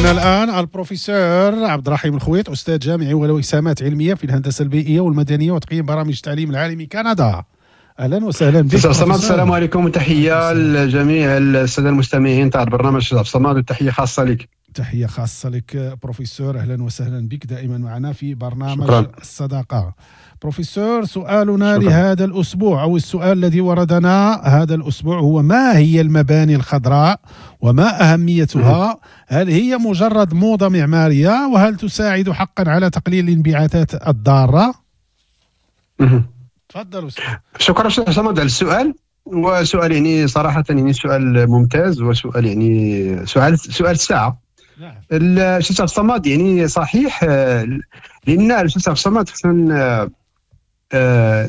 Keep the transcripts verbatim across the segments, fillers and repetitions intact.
معنا الآن البروفيسور عبد الرحيم الخويط، أستاذ جامعي وله إسهامات علمية في الهندسة البيئية والمدنية وتقييم برامج التعليم العالمي كندا. أهلا وسهلا بك. السلام عليكم وتحية لجميع السادة المستمعين تاع البرنامج أستاذ عبد الصمد، وتحية خاصة لك. تحية خاصة لك بروفيسور، أهلا وسهلا بك دائما معنا في برنامج شكرا. الصداقة. بروفيسور، سؤالنا شكرا. لهذا الأسبوع أو السؤال الذي وردنا هذا الأسبوع هو: ما هي المباني الخضراء وما أهميتها؟ هل هي مجرد موضة معمارية؟ وهل تساعد حقا على تقليل الانبعاثات الضارة؟ تفضل. شكرا أستاذ صمد على السؤال، وسؤال يعني صراحة يعني سؤال ممتاز، وسؤال يعني سؤال سؤال الساعة. الأستاذ عبد الصمد يعني صحيح، لأن الأستاذ عبد الصمد خصنا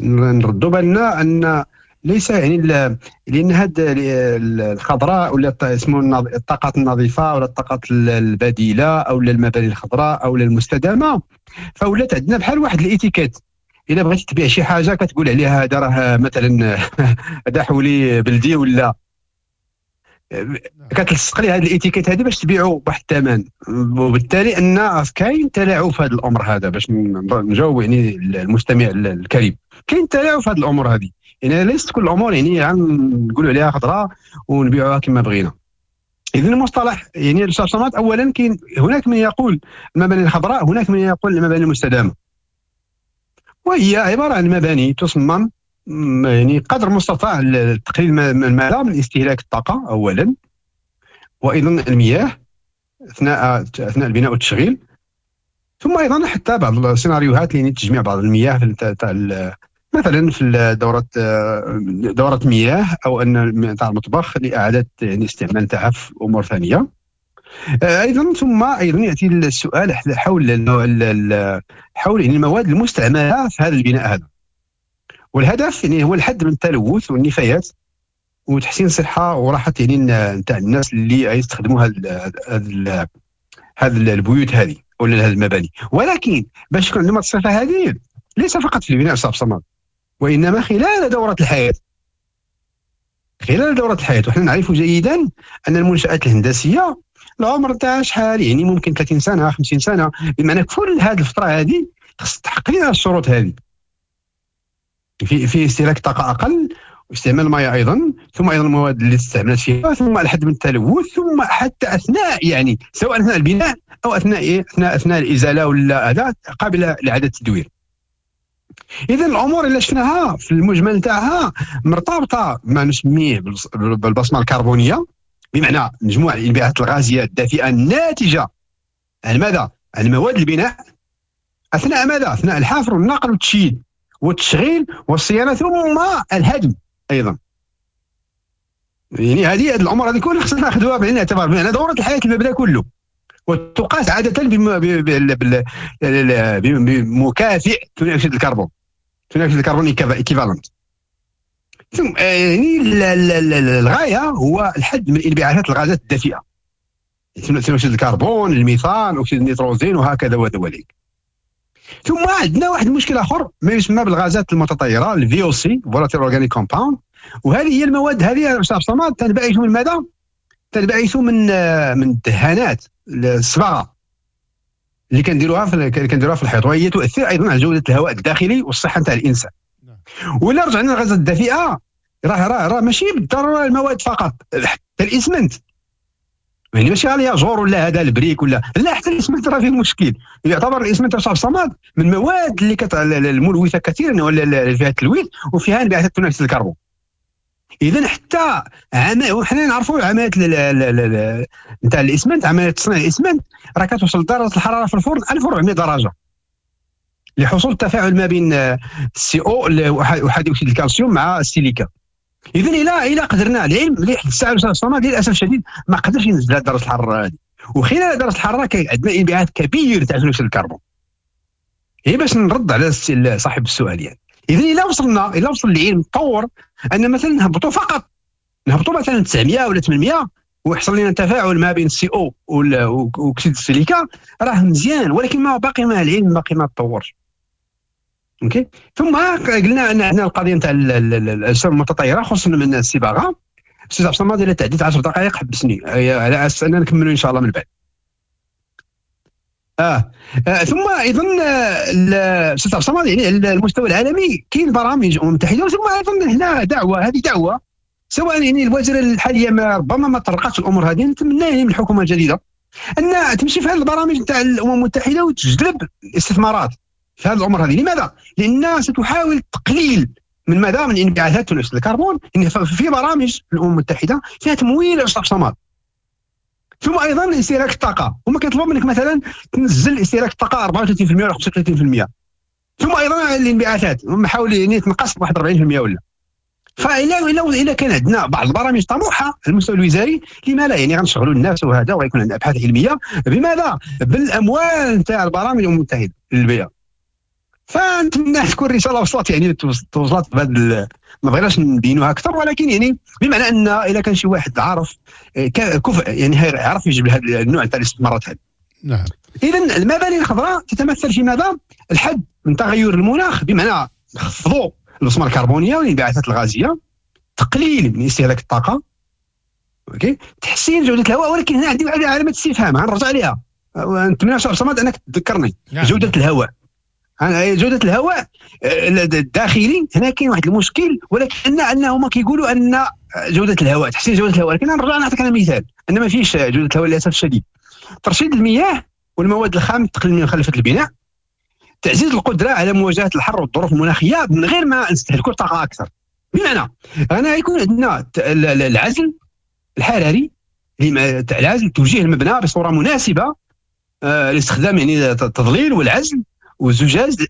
نردوا بالنا أن ليس يعني لأن هاد الخضراء ولا اسمه الطاقات النظيفة ولا الطاقات البديلة أو المباني الخضراء أو المستدامة، فولات عندنا بحال واحد الإتيكيت. إلا بغيتي تبيع شي حاجة كتقول عليها هذا راه مثلا هذا حولي بلدي، ولا كتلصق ليه هذه الاتيكيت هذه باش تبيعوا بواحد الثمن، وبالتالي ان كاين تلاعب في هذا الامر هذا. باش نجاوب يعني المستمع الكريم، كاين تلاعب في هذه الامور هذه، يعني ليست كل الامور يعني نقولوا عليها خضراء ونبيعوها كما بغينا. اذا المصطلح يعني الاستاذ اولا كاين هناك من يقول المباني الخضراء، هناك من يقول المباني المستدامة، وهي عبارة عن مباني تصمم يعني قدر المستطاع لتقليل المدى من استهلاك الطاقة اولا، وايضا المياه اثناء اثناء البناء والتشغيل، ثم ايضا حتى بعض السيناريوهات اللي تجميع بعض المياه في تاع مثلا في دوره دوره مياه او ان تاع المطبخ لاعادة يعني استعمال تاعها في امور ثانية ايضا. ثم ايضا ياتي السؤال حول حول يعني المواد المستعملة في هذا البناء هذا، والهدف يعني هو الحد من التلوث والنفايات وتحسين الصحة وراحة يعني نتاع الناس اللي يستخدموا هذا هذا البيوت هذه ولا هذه المباني. ولكن باش يكون عندهم الصفة هذه ليس فقط في البناء أستاذ صمد، وانما خلال دوره الحياة. خلال دوره الحياة وحنا نعرف جيدا ان المنشات الهندسية العمر تاعها شحال، يعني ممكن ثلاثين سنة خمسين سنة، بمعنى كل هذه الفترة هذه خص تحقق لنا الشروط هذه في في استهلاك طاقة اقل واستعمال الماء ايضا، ثم ايضا المواد اللي استعملت فيها، ثم الحد من التلوث، ثم حتى اثناء يعني سواء اثناء البناء او اثناء إيه؟ اثناء اثناء الازالة ولا هذا قابله لاعادة التدوير. اذا الامور اللي شفناها في المجمل تاعها مرتبطة ما نسميه بالبصمه الكربونيه، بمعنى مجموع الانبعاثات الغازية الدافئه الناتجة عن ماذا؟ عن مواد البناء اثناء ماذا؟ اثناء الحفر والنقل والتشييد والتشغيل والصيانه ثم الهدم ايضا. يعني هذه الامور هذه كلها خصنا ناخذوها بعين الاعتبار، بمعنى دوره الحياة المبنى كله، وتقاس عادة بمكافئ ثاني اكسيد الكربون، ثاني اكسيد الكربون équivalent. ثم يعني الغاية هو الحد من انبعاثات الغازات الدافئه، ثاني اكسيد الكربون، الميثان، اكسيد النيتروزين، وهكذا ودواليك. ثم عندنا واحد المشكل اخر ما يسمى بالغازات المتطايره ال VOC، volatile organic compound، وهذه هي المواد هذه استاذ صمد تنبعث من ماذا؟ تنبعث من من الدهانات الصباغه اللي كنديروها في كنديروها في الحيط، وهي تؤثر ايضا على جوده الهواء الداخلي والصحة نتاع الانسان. ولا رجعنا للغازات الدافئه، راه راه راه ماشي بالضرورة المواد فقط، حتى الاسمنت، يعني ماشي غير ياجور ولا هذا ال brique ولا لا، حتى الاسمنت راه فيه مشكل. يعتبر الاسمنت استاذ صمد من المواد اللي كت... الملوثة كثيرا ولا اللي فيها التلويث وفيها انبعاثات ثاني اكسيد الكربون. اذا حتى عمل وحنا نعرفوا عملية نتاع الاسمنت، عملية تصنيع الاسمنت راه كتوصل درجه الحرارة في الفرن ألف وأربعمائة درجه لحصول التفاعل ما بين ال سي او احادي اكسيد الكالسيوم مع السيليكا. اذا الى الى قدرنا العلم مليح الساعة الصمد للاسف الشديد ما قدرش ينزل درجه الحرارة هذه، وخلال درجه الحرارة كاين عندنا انبعاث كبير تاع ثاني اكسيد الكربون. هي باش نرد على صاحب السؤال يعني. اذا الى وصلنا الى وصل العلم تطور ان مثلا نهبطوا فقط نهبطوا مثلا تسعمية ولا ثمنمية ويحصل لنا تفاعل ما بين ال CO واكسيد السيليكا راه مزيان، ولكن ما باقي ما العلم باقي ما تطورش. OK. ثم قلنا ان عندنا القضية نتاع الاجسام المتطايره خصوصا من الصباغه. استاذ عبد الصمد الى تعديت عشر دقائق حبسني على اساس اننا نكملوا ان شاء الله من بعد. اه, آه. ثم ايضا استاذ عبد الصمد يعني على المستوى العالمي كاين برامج الامم المتحدة، ثم ايضا هنا دعوه، هذه دعوه سواء يعني الوزيرة الحالية ما ربما ما طرقتش الامور هذه، نتمنى يعني من الحكومة الجديدة ان تمشي في هذه البرامج نتاع الامم المتحدة وتجلب الاستثمارات في هذه الامور هذه. لماذا؟ لان ستحاول تقليل من ماذا؟ من انبعاثات ثاني اكسيد الكربون. يعني في برامج الامم المتحدة فيها تمويل استاذ صمد. ثم ايضا استهلاك الطاقة، هما كيطلبوا منك مثلا تنزل استهلاك الطاقة أربعة وثلاثين بالمئة ولا خمسة وثلاثين بالمئة. ثم ايضا الانبعاثات هم حاولوا يعني تنقص بواحد أربعين بالمئة ولا. فإلا إلا إلا كان عندنا بعض البرامج طموحه على المستوى الوزاري، لما لا يعني غنشغلوا الناس وهذا، وغيكون عندنا ابحاث علمية بماذا؟ بالاموال نتاع البرامج الامم المتحدة للبيئة. فنتمنى تكون الرسالة وصلت، يعني توصلت بهذا، ما بغيناش نبينوها اكثر، ولكن يعني بمعنى ان اذا كان شي واحد عارف كفء يعني عرف يجيب هذا النوع تاع الاستثمارات هذه. نعم. اذا المباني الخضراء تتمثل في ماذا؟ الحد من تغير المناخ، بمعنى نخفضوا البصمة الكربونيه والانبعاثات الغازية، تقليل من استهلاك الطاقة، OK، تحسين جوده الهواء. ولكن هنا عندي واحد علامة استفهام غنرجع عليها، نتمنى استاذ صمد انك تذكرني. نعم. جوده الهواء، جودة الهواء الداخلي هنا كاين واحد المشكل، ولكن انهم كيقولوا ان جودة الهواء، تحسين جودة الهواء، لكن نرجع نعطيك انا مثال ان ما فيش جودة الهواء للاسف الشديد. ترشيد المياه والمواد الخام، تقليل من مخلفات البناء، تعزيز القدرة على مواجهة الحر والظروف المناخية من غير ما نستهلكوا الطاقة اكثر. بمعنى انا يكون عندنا العزل الحراري، العزل توجيه المبنى بصورة مناسبة لاستخدام يعني التظليل والعزل والزجاج،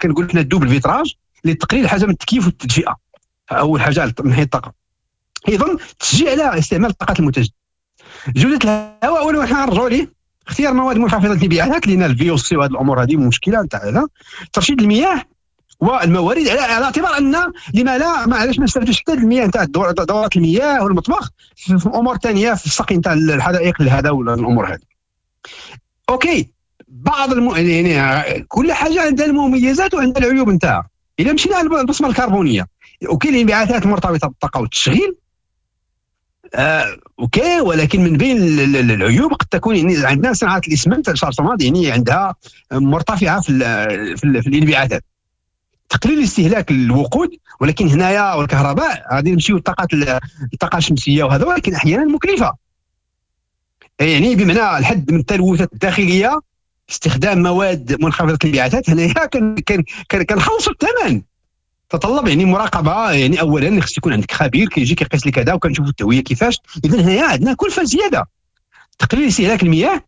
كنقول حنا ال double vitrage لتقليل حاجة من التكييف والتدفئه، اول حاجة من حيث الطاقة. ايضا تشجيع على استعمال الطاقات المتجددة. جوده الهواء اول حنا نرجعوا ليه، اختيار مواد منخفضة الانبعاثات لان ال VOC وهذه الامور هذه مشكلة نتاع هذا. ترشيد المياه والموارد على اعتبار ان لما لا، ما علاش ما نستافدوش حتى المياه نتاع دورات المياه والمطبخ في امور ثانية في السقي نتاع الحدائق لهذا ولا الامور هذه. OK، بعض الم... يعني كل حاجة عندها المميزات وعندها العيوب نتاعها. اذا مشينا على البصمة الكربونيه، OK الانبعاثات المرتبطة بالطاقة والتشغيل، آه، OK، ولكن من بين العيوب قد تكون يعني عندنا صناعة الاسمنت الشارسوماد يعني عندها مرتفعة في ال في, ال في الانبعاثات. تقليل استهلاك الوقود، ولكن هنايا والكهرباء غادي نمشيو للطاقات الطاقة الشمسية وهذا، ولكن احيانا مكلفة. يعني بمعنى الحد من التلوثات الداخلية، استخدام مواد منخفضة الانبعاثات، هنايا كنخلصوا الثمن. تطلب يعني مراقبة، يعني اولا خص يكون عندك خبير كيجي كيقيس لك هذا وكنشوفوا التهويه كيفاش. اذا هنايا عندنا كلفه زيادة. تقليل استهلاك المياه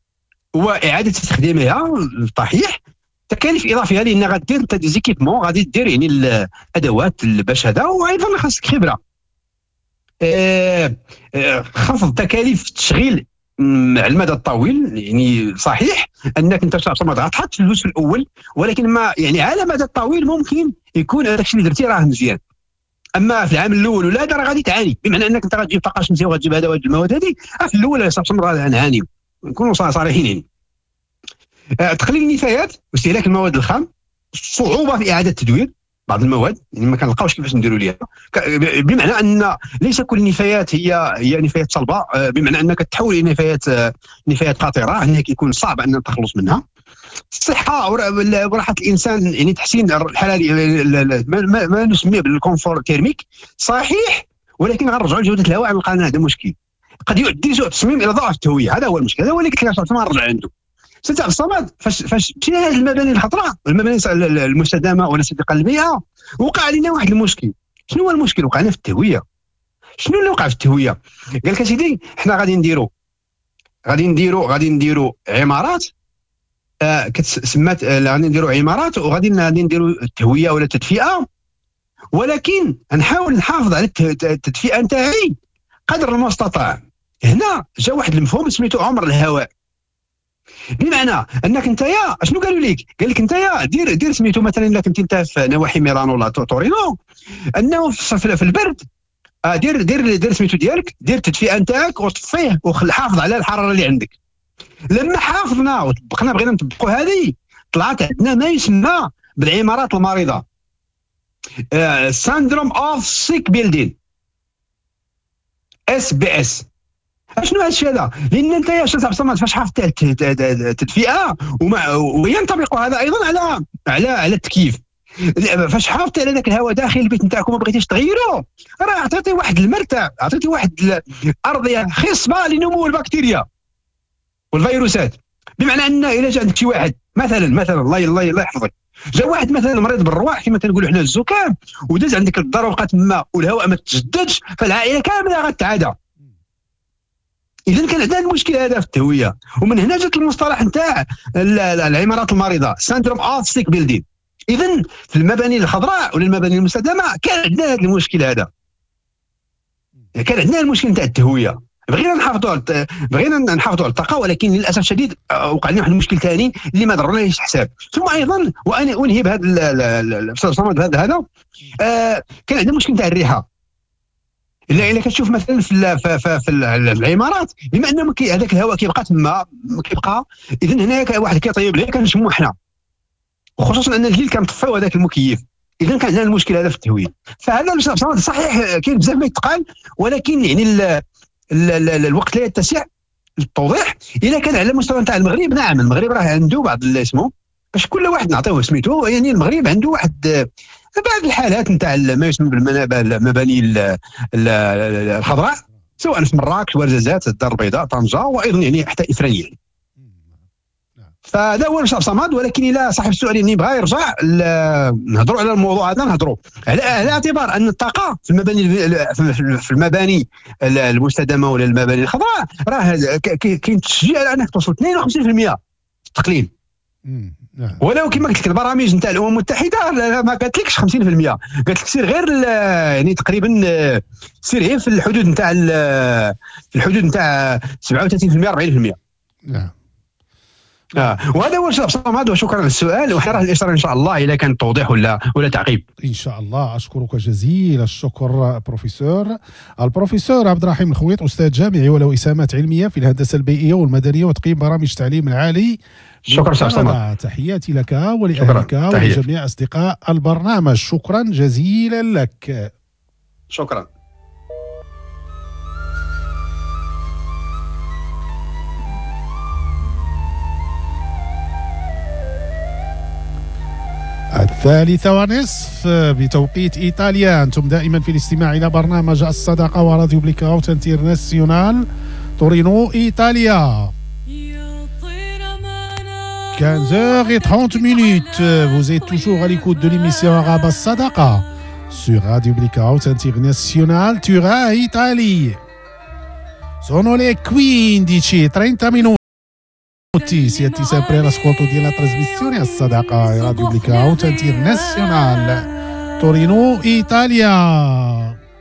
واعاده استخدامها صحيح، تكاليف اضافية لان غادير انت des équipements، غادي دير يعني الادوات باش هذا، وايضا خاصك خبره. آه آه خفض تكاليف التشغيل على المدى الطويل، يعني صحيح انك انت ما غتحط فلوس في الاول، ولكن ما يعني على المدى الطويل ممكن يكون هذاك الشيء اللي درتي راه مزيان. اما في العام الاول ولا هذا راه غادي تعاني، بمعنى انك انت غتجيب طاقة شمسية وغتجيب هذا وهذه المواد هذه في الاول راه نعانيو، نكونوا صريحين. يعني تقليل النفايات واستهلاك المواد الخام، صعوبة في اعاده تدوير بعض المواد، يعني ما كنلقاوش كيفاش نديروا ليها، بمعنى ان ليس كل النفايات هي هي نفايات صلبه، بمعنى انك تحول الى نفايات نفايات خطيرة، هنا كيكون صعب ان التخلص منها. الصحة وراحة الانسان، يعني تحسين الحراري ما, ما نسميه بال confort thermique صحيح، ولكن غنرجعوا لجوده الهواء نلقى هذا مشكل قد يؤدي سوء التصميم الى ضعف التهويه. هذا هو المشكل، هذا هو اللي قلت لك نرجع عنده. سي عبد الصمد فاش فاش مشينا لهذه المباني الخضراء، المباني المستدامة ولا الصديقة للبيئة، وقع لنا واحد المشكل. شنو هو المشكل؟ وقعنا في التهويه. شنو اللي وقع في التهويه؟ قال لك اسيدي حنا غادي نديرو غادي نديرو غادي نديرو عمارات آه كتسمات، آه غادي نديرو عمارات وغادي غادي نديرو التهويه ولا التدفئه، ولكن نحاول نحافظ على التدفئه نتاعي قدر المستطاع. هنا جا واحد المفهوم سميتو عمر الهواء، بمعنى انك انت يا شنو قالوا لك؟ قال لك انت يا دير دير سميتو مثلا الا كنت انت في نواحي ميلانو ولا تورينو، انه في البرد دير دير دير سميتو ديالك، دير التدفئه نتاعك وطفيه وحافظ على الحرارة اللي عندك. لما حافظنا وطبقنا بغينا نطبقوا هذه، طلعت عندنا ما يسمى بالعمارات المريضة، syndrome of sick building، SBS. اشنو هذا الشيء هذا؟ لان انت يا استاذ عبد الصمد فاش حافظت على التدفئه، ومع وينطبق هذا ايضا على على على التكييف، فاش حافظتي على ذاك الهواء داخل البيت نتاعك وما بغيتيش تغيره، راه عطيتي واحد المرتع، عطيتي واحد الارضية خصبة لنمو البكتيريا والفيروسات. بمعنى ان الا جا عندك شي واحد مثلا مثلا الله الله الله يحفظك، جا واحد مثلا مريض بالرواح كما تنقولوا حنا الزكام، وداز عندك الدار وبقى تما والهواء ما تجددش، فالعائله كاملة غتعادى. اذا كان عندنا المشكل هذا في التهويه، ومن هنا جات المصطلح نتاع العمارات المريضة، syndrome of sick building. اذا في المباني الخضراء ولا المباني المستدامة كان عندنا هذا المشكل هذا، كان عندنا المشكل نتاع التهويه. بغينا نحافظوا على بغينا نحافظوا على الطاقة، ولكن للاسف الشديد وقع لنا واحد المشكل ثاني اللي ما ضرناش حساب. ثم ايضا وانا انهي بهذا الاستاذ صمد بهذا هذا آه كان عندنا مشكل نتاع الريحة. الا الا كتشوف مثلا في في, في, في العمارات، بما انه هذاك الهواء كيبقى تما كيبقى، اذا هناك واحد كيطيب ليه كنشمو حنا، وخصوصا ان الليل كنطفيو هذاك المكيف. اذا كان عندنا المشكل هذا في التهويه. فهذا صحيح كاين بزاف ما يتقال، ولكن يعني ال ال ال الوقت لا يتسع للتوضيح. اذا كان على المستوى نتاع المغرب، نعم المغرب راه عنده بعض اسمه باش كل واحد نعطيوه سميتو، يعني المغرب عنده واحد بعض الحالات نتاع ما يسمى بالمباني الخضراء، سواء في مراكش، ورزازات، الدار البيضاء، طنجه، وايضا يعني حتى افريقيا. فهذا هو المشروع صمد. ولكن الى صاحب السؤال يعني بغى يرجع نهضروا على الموضوع هذا، نهضروا على على اعتبار ان الطاقة في المباني في المباني المستدامة ولا المباني الخضراء راه كاين تشجيع على انك توصل اثنين وخمسين بالمئة التقليل. ولو كما قلت لك البرامج نتاع الامم المتحدة ما قالتلكش خمسين بالمئة، قالت لك سير غير يعني تقريبا سير غير في الحدود نتاع في الحدود نتاع سبعة وثلاثين بالمئة أربعين بالمئة. نعم. آه. وهذا هو الشيء صمد، وشكرا للسؤال، وحنا راه الاشارة ان شاء الله اذا كان توضيح ولا ولا تعقيب ان شاء الله. اشكرك جزيل الشكر بروفيسور البروفيسور عبد الرحيم الخويط، استاذ جامعي وله اسهامات علمية في الهندسة البيئية والمدنية وتقييم برامج التعليم العالي. شكرا استاذ صمد، تحياتي لك ولاهلك ولجميع اصدقاء البرنامج، شكرا جزيلا لك. شكرا. الثالثة ونصف بتوقيت إيطاليا. أنتم دائما في الاستماع إلى برنامج الصداقة وراديو Blackout International تورينو إيطاليا. quinze heures et trente minutes. Vous êtes toujours à l'écoute de l'émission arabe As-Sadaqa sur Radio Blackout International Turin Italie. Sono le quindici e trenta minuti. Siete sempre all'ascolto della trasmissione As-Sadaqa Radio Blackout International Torino Italia.